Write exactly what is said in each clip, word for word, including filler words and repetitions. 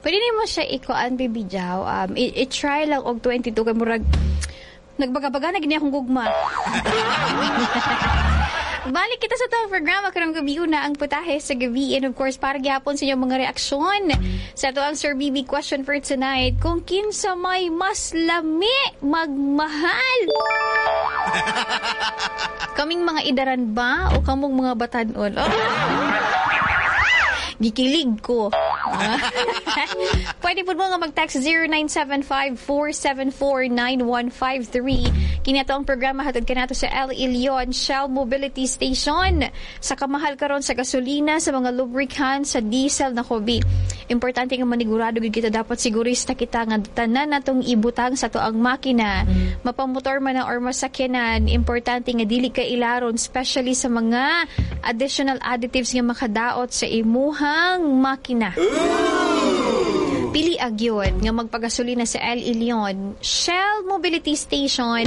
Pwede nimo siya ikuan, Baby Jow. Um, i- i-try lang og twenty-two kay murag nagbaga-baga na gini akong gugma. Balik kita sa atong programa karong gabi una, ang Putahe sa Gabi, and of course para gihapon sa inyong mga reaksyon sa ato ang Sir B B question for tonight, kung kinsa may mas lami magmahal, kaming mga idaran ba o kamong mga batanon? Oh. Gikilig ko. Pwede po mo nga mag-text zero nine seven five, four seven four, nine one five three. Kini ato ang programa hatod kanato sa L. Leon Shell Mobility Station. Sa kamahal karon sa gasolina, sa mga lubricants, sa diesel na kobi. Importante nga manigurado gid kita, dapat sigurista kita nga tanan natong ibutang sa atoang makina. Mapamotor man na or masakyanan, importante nga dili ka ilaron, especially sa mga additional additives nga makadaot sa imuhang makina. Pili agyod nga magpagasolina sa El Leon Shell Mobility Station.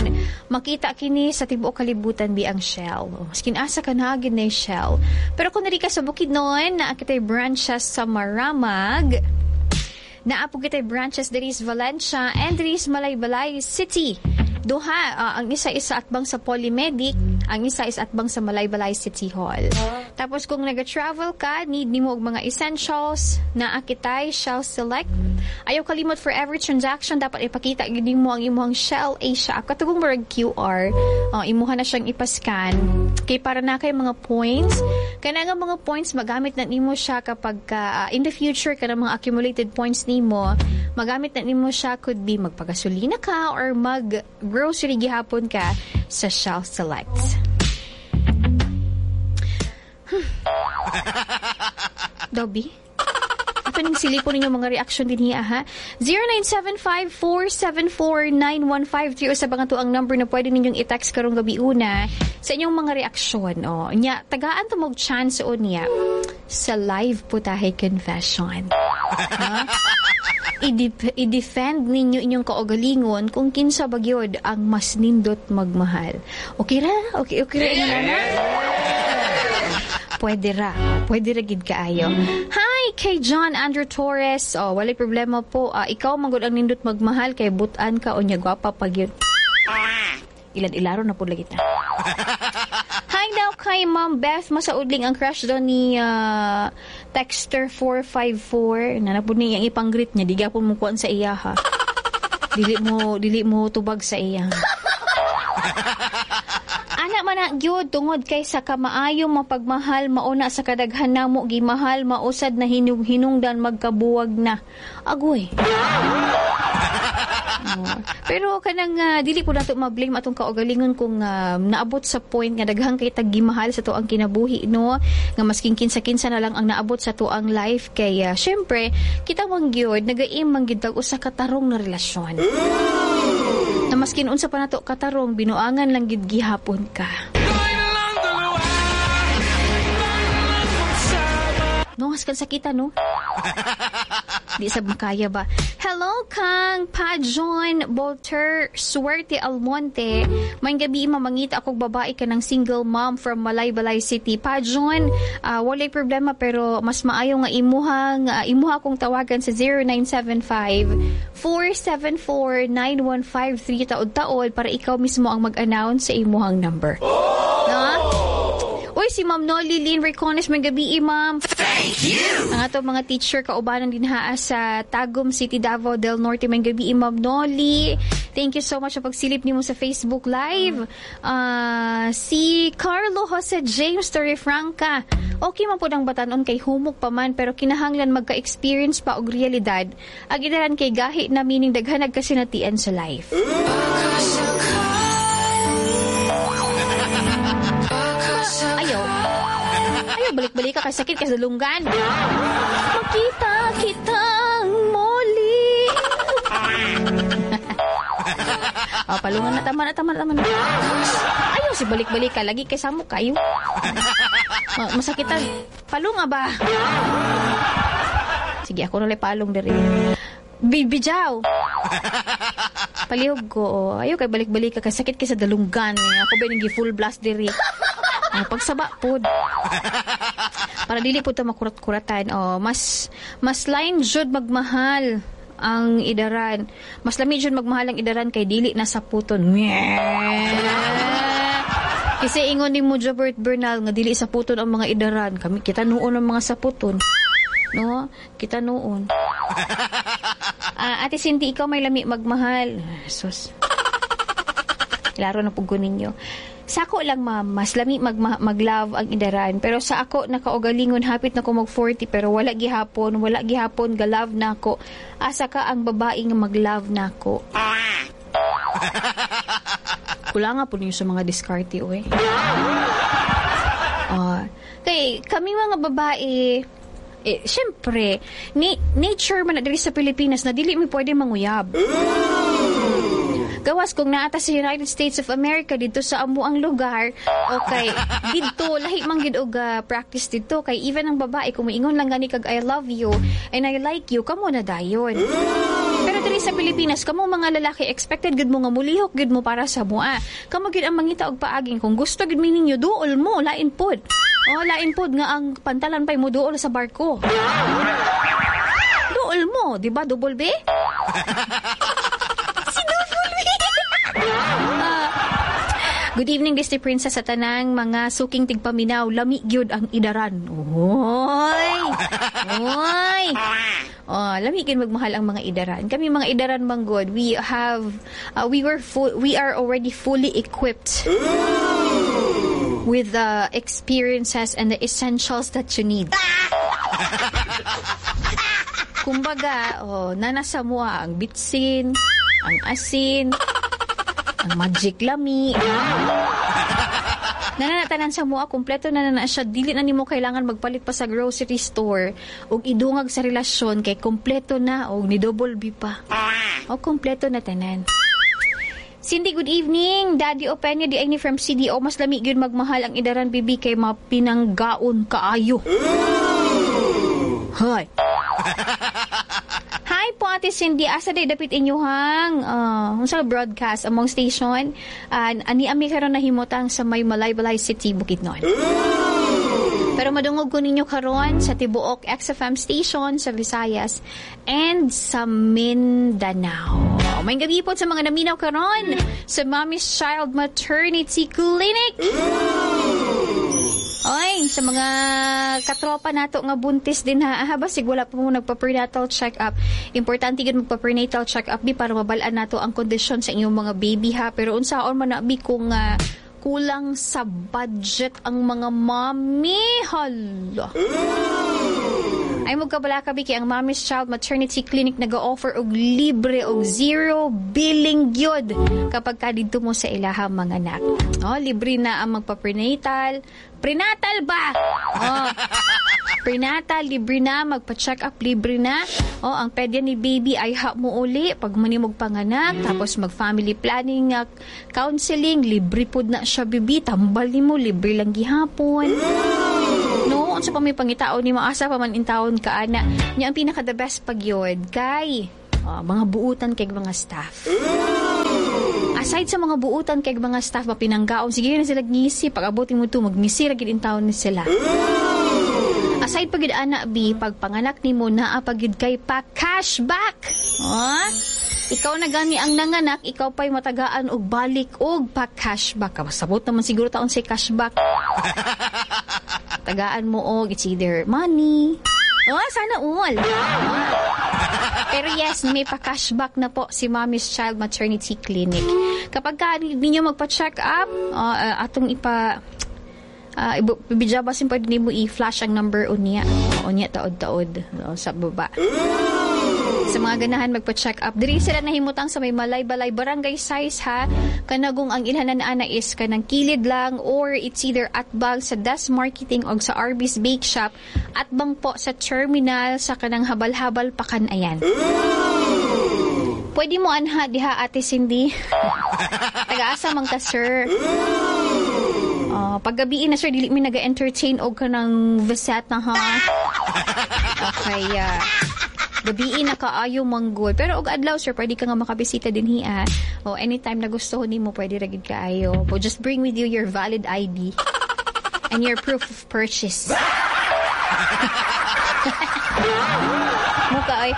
Makita kini sa tibuok kalibutan bi ang Shell. Maskin asa ka na gid na Shell. Pero kung diri ka sa Bukidnon, naa kitay branches sa Maramag. Naa po kitay branches diri sa Valencia and diri sa Malaybalay City. Duha, ah, ang isa isa atbang sa Polymedic, ang isa is atbang sa Malaybalay City Hall. Tapos kung naga-travel ka, need nimo og mga essentials, naa kitay Shell Select. Ayaw kalimot, for every transaction dapat ipakita gid nimo ang imong Shell Asia app. Katong murag Q R, uh, imuha na siyang ipascan. Kay para na kay mga points. Kana nga mga points magamit na nimo siya kapag ka, ah, in the future, kana mga accumulated points nimo, magamit na nimo siya, could be magpagasolina ka or mag grocery gihapon ka sa Shell Select. Hmm. Dobby? Ato ning silipon ninyo mga reaction din hiya, ha? zero nine seven five, four seven four, nine one five three o sa bang ang number na pwede ninyong i-text karong gabi una sa inyong mga reaksyon. O, nya, tagaan to mog chance o niya sa live Putahe Confession. Ha? I-def- i-defend ninyo inyong kaugalingon kung kinsa ba gyud ang mas nindot magmahal. Okay ra? Okay, okay ra inyo na? Pwede ra. Pwede ra gid kaayo. Hi kay John Andrew Torres. Oh, walay problema po. Ah, ikaw man gud ang nindot magmahal kay butan ka o nya gwapa pa gyud. Ilan ilaro na po lagi ta. Hi daw kay Ma'am Beth Masaudling, ang crush daw ni ah, Texter four five four. Na po niya ang ipang-greet niya. Di gapon mo kuan sa iya ha. Dili mo dili mo tubag sa iya. Ana man na gyud, tungod kay sa kamaayo mapagmahal, mauna sa kadaghan namo gimahal mausad na hinug hinungdan magkabuwag na. Agoy. Oh. Pero kanang ah, dili po nato ma-blame atong kaugalingon kung ah, naabot sa point nga daghan kay tag gimahal sa atoang kinabuhi, no, nga masking kinsa-kinsa na lang ang naabot sa atoang life, kay ah, syempre kita man gyud nagaim man gyud tag usa ka tarong na relasyon. Na maskin unsa pa nato katarong, binuangan lang gid gihapon ka. Tayo na lang dalawa. Tayo na lang magsama. No, haskan sakita, no? Di sab makaya ba? Hello kang Pa John Bolter Suerte Almonte. May gabi, mamangita akong babae ka ng single mom from Malaybalay City. Pa John, ah, walay problema, pero mas maayo nga imuhang ah, imuha akong tawagan sa zero nine seven five, four seven four, nine one five three taod-taod para ikaw mismo ang mag-announce sa imuhang number. No? Uy, si Ma'am Nolly Lynn Ricones, may gabi, ma'am. Thank you. Ang ato mga teacher kaubanan din haa sa Tagum City, Davao del Norte. May gabi, Ma'am Nolly. Thank you so much sa pagsilip nimo sa Facebook Live. Ah, si Carlo Jose James Torrefranca. Okay man po ang batanon kay humok pa man, pero kinahanglan magka-experience pa og realidad. Ang idaran kay gahi na, meaning daghan nagkasinatian sa life. Ayaw. Ayaw, balik-balik ka kay sakit kay sa lunggan. Makita kitang muli. Oh, palungan na, tama na, tama na, tama na. Ayaw, si balik-balik ka. Lagi kay samok kayo. Ma masakitan. Palunga ba? Sige, ako na palong diri. Bibijaw. Palihog ko. Oh. Ayaw kay balik-balik ka kay sakit kay sa dalunggan. Ako ba nang full blast diri. Oh, pagsaba pod. Para dili po ta makurat-kuratan. Oh, mas mas lain jud magmahal ang idaran. Mas lami jud magmahal ang idaran kay dili na sa puton. Kasi ingon ni mo Jobert Bernal nga dili sa puton ang mga idaran. Kami kita noon ang mga saputon. No? Kita noon. Ah, Ate Cindy, ikaw may lami magmahal. Sus. Klaro na pud ko ninyo. Sa ako lang, ma'am, mas lami mag mag-love ang idaran. Pero sa ako, nakaugalingon, hapit na ko mag forty, pero wala gihapon, wala gihapon, ga-love na ako. Asa ka ang babae nga mag-love na ako? Kulang nga po ninyo sa mga diskarte, uy. Uh, kay kami mga babae, eh, syempre, ni, nature man na diri sa Pilipinas na dili mi pwede manguyab. Gawas kung naata sa United States of America dito sa amuang lugar, okay, didto lahi man gid og uh, practice didto kay even ang babae kung moingon lang gani kag "I love you and I like you," kamo na dayon. Pero diri sa Pilipinas, kamo mga lalaki, expected gud mo nga mulihok gud mo para sa mua. Kamo gid ang mangita og paaging kung gusto gid mi ninyo, duol mo, lain pod. Oh, lain pod nga ang pantalan pay mo duol sa barko. Duol mo, di ba? Double B? Si Double B. Ah, good evening, Disney Princess, sa tanang mga suking tigpaminaw. Lami gyud ang idaran. Oy! Oy! Oh, lami gyud magmahal ang mga idaran. Kami mga idaran manggod, we have uh, we were full, we are already fully equipped with the experiences and the essentials that you need. Kumbaga, oh, nanasa mo ang bitsin, ang asin, ang Magic Lami. Nananatanan sa mua, kompleto na na siya. Dili na nimo kailangan magpalit pa sa grocery store og idungag sa relasyon kay kompleto na og ni double B pa. O kompleto na tanan. Cindy, good evening. Daddy Openya, di ay ni from C D O. Mas lami gyud magmahal ang idaran, bibi, kay mapinanggaon kaayo. Hi. Hi po, Ate Cindy. Asa day dapit inyuhang uh, unsa broadcast among station? Uh, ani ami karon nahimutang sa may Malaybalay City, Bukidnon. Pero madungog ko ninyo karon sa tibuok X F M station sa Visayas and sa Mindanao. May gabi po sa mga naminaw karon sa Mommy's Child Maternity Clinic. Oy, sa mga katropa nato nga buntis din ha, ha basig wala pa mo nagpa-prenatal check-up. Importante gyud magpa-prenatal check-up bi para mabal-an nato ang kondisyon sa inyong mga baby ha. Pero unsaon man na bi kung uh, kulang sa budget ang mga mommy? Hala. Ay magkabala ka kay ang Mommy's Child Maternity Clinic nag-offer og libre og zero billing gyud kapag ka didto mo sa ilaha mga anak. Oh, libre na ang magpa-prenatal. Prenatal ba? Oh. Prenatal, libre na. Magpa-check up, libre na. Oh, ang pedya ni baby ay ha mo uli pag manimog panganak. Tapos mag-family planning, uh, counseling, libre pod na siya, bibi. Tambal nimo, libre lang gihapon. No, unsa pa may pangitaon ni maasa pa man intawon ka ana. Nya ang pinaka the best pag yun kay oh, mga buutan kay mga staff. Aside sa mga buutan kay mga staff mapinanggaon, sige na sila ngisi pag abot mo to magngisi ra gid intawon ni sila. Aside pag ana bi pag panganak nimo naa pa gyud kay pa cashback. Oh? Ikaw na gani ang nanganak, ikaw pa'y matagaan og balik og pa cashback. Sabot naman siguro taon say cashback. Tagaan mo og it's either money. Oh, sana all. Oh. Pero yes, may pa-cashback na po si Mommy's Child Maternity Clinic. Kapag ka ninyo magpa-check up, uh, uh, atong ipa uh, ibidya basin pwede nimo i-flash ang number unya. Unya taod-taod, oh, sa baba. Sa mga ganahan magpa-check up. Diri sila nahimutang sa may Malay-Balay barangay size ha. Kanagong ang ilhanan ana is kanang kilid lang or it's either atbang sa Desk Marketing o sa Arby's Bake Shop, atbang po sa terminal sa kanang habal-habal pakan ayan. Pwede mo anha diha, Ate Cindy. Taga-asa man ka, sir? Uh, paggabiin na, sir, dili mi naga-entertain og kanang visit na ha. Okay, uh, gabiin na kaayo manggol. Pero og adlaw, sir, pwede ka nga makabisita din hiya. O anytime na gusto nimo, pwede ra gid kaayo. But just bring with you your valid I D. And your proof of purchase. Muka ay.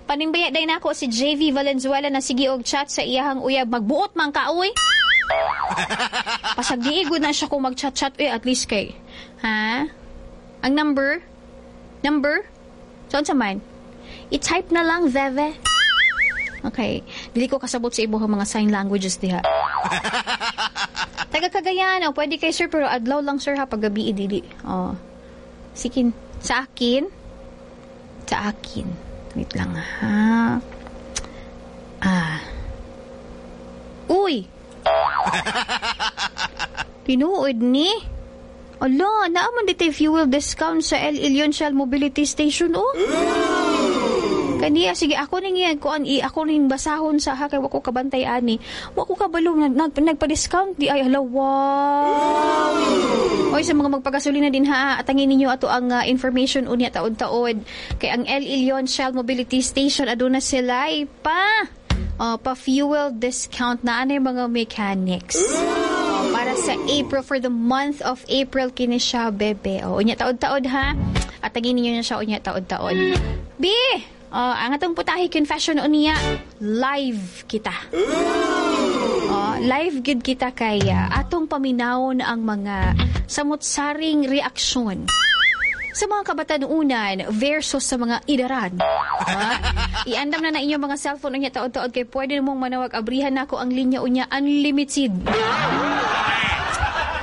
Panimbaya day nako si J V Valenzuela na sige og chat sa iyahang uyab. Magbuot man ka, uy. Pasag di na siya kung mag-chat-chat eh, at least kay. Ha? Ang number? Number? Saan sa man? I-type na lang, Veve. Okay. Dili ko kasabot sa ibuhang mga sign languages diha. Taga Cagayan, oh, pwede kay sir, pero adlaw lang, sir, ha, paggabi dili. Oh. Sikin. Sa akin? Sa akin. Wait lang ha. Ah. Uy! Tinuod ni? Ala, naa man dito'y fuel discount sa El Ilion Shell Mobility Station, oh. Kaniya, sige, ako ning iyan, kuan, i, ako ning basahon sa ha, kay wa ko kabantay ani. Wa ko kabalo, nag, nag, nagpa-discount di ay, hala, wow! Oy, sa mga magpagasolina din ha, atangin ninyo ato ang uh, information unya taod-taod. Kay ang El Ilion Shell Mobility Station, aduna sila pa, uh, pa fuel discount na ano yung mga mechanics. Oh, para sa April, for the month of April, kini siya, bebe. O, unya taod-taod ha. Atangin ninyo na siya unya taod-taod. B! Oh, ang atong putahe confession unya, live kita. Oh, live gid kita kay uh, atong paminawon ang mga samot-saring reaksyon sa mga kabatanunan versus sa mga idaran. Ha? Iandam na na inyong mga cellphone unya taod-taod kay pwede mong manawag, abrihan nako ang linya unya, unlimited.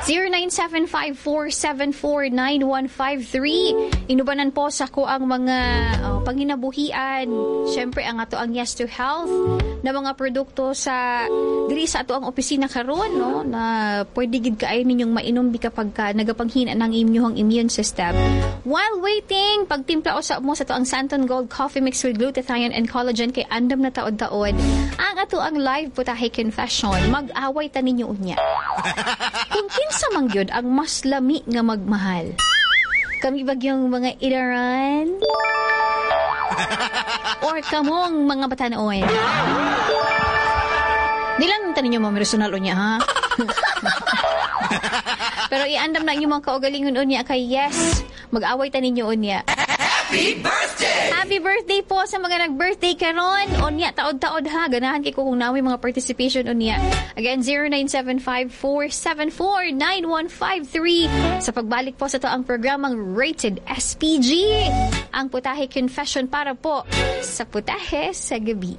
zero nine seven five four seven four nine one five three. Inubanan po sa ko ang mga oh, panginabuhian. Siyempre, ang ato ang Yes to Health na mga produkto sa diri sa ato ang opisina karon, no, na pwede gid kaayo ninyong mainom bi kapag ka nagapanghina ng inyong immune system. While waiting, pagtimpla usa mo sa ato ang Santon Gold Coffee Mix with glutathione and collagen kay andam na taod-taod ang ato ang live putahe confession. Mag-away ta ninyo unya. Kung kinsa man gyud ang mas lami nga magmahal. Kami bagyong mga idaran? Or kamong mga batanoon? Di lang ta ninyo mamersonal unya, ha? Pero iandam na inyong mga kaugalingon unya kay yes, mag-away ta ninyo unya. Happy birthday! Happy birthday po sa mga nag-birthday karon. Unya taod-taod ha. Ganahan kay ko kung namin mga participation unya. Again, zero nine seven five four seven four nine one five three. Sa pagbalik po sa to ang programang Rated S P G. Ang Putahe Confession para po sa Putahe sa Gabi.